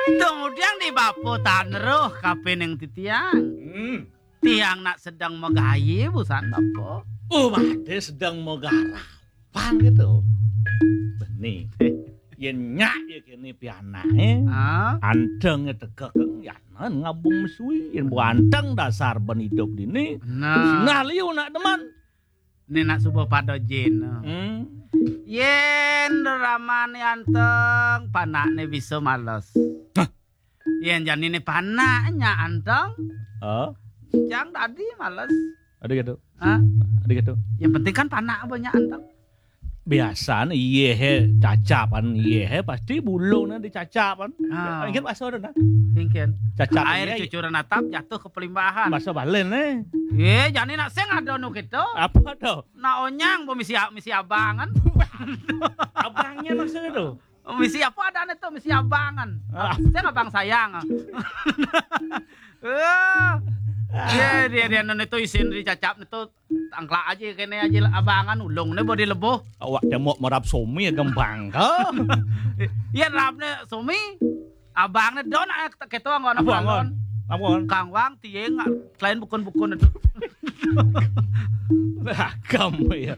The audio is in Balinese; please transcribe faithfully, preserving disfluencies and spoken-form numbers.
Kemudian di bapa taneruh kapining titiang. Hmm. Tiang nak sedeng magayi busan bapa. Oh, badé sedeng magarapan gitu. Beni. Yén nyak ya kéné pianaké. Ah. Anteng ya tegek, yanan ngabung mesui. Yén bu anteng dasar ben idup dini. Nah. Sinah liu nak demen. Né nak suba pada jin. Hmm. Yén ramané anteng, panakné bisa males. Hah? Yén janiné panak nyak anteng, Oh, cang dadi males. Ada gitu. Hah? Ada gitu. Yang penting kan panak apa nyak anteng. Biasanya iya he cacapan, iya he pasti bulungnya dicacapan. Ah. Ingat bahasa udah nah. Singkin. Cacap Air iya, cucuran atap jatuh ke pelimbahan. Bahasa Balen nih. Iya, jani nak sing ada nu gitu. Apa tuh? Nak onyang bu misi misi abangan. Abangnya maksudnya tuh. Misi apa ada itu misi abangan. Ah. Sing abang sayang. Eh. Iya, dia dia nene itu isin dicacap itu tangklak aja kene aja abangan ulung ne bodi lebuh. Awak cemok merap somi ya gembang ke. Iya rapne somi. Abang ne don anak ketua anggon Apa anggon? Apa anggon? Kang Wang tieng selain bukun-bukun itu. Agam ya.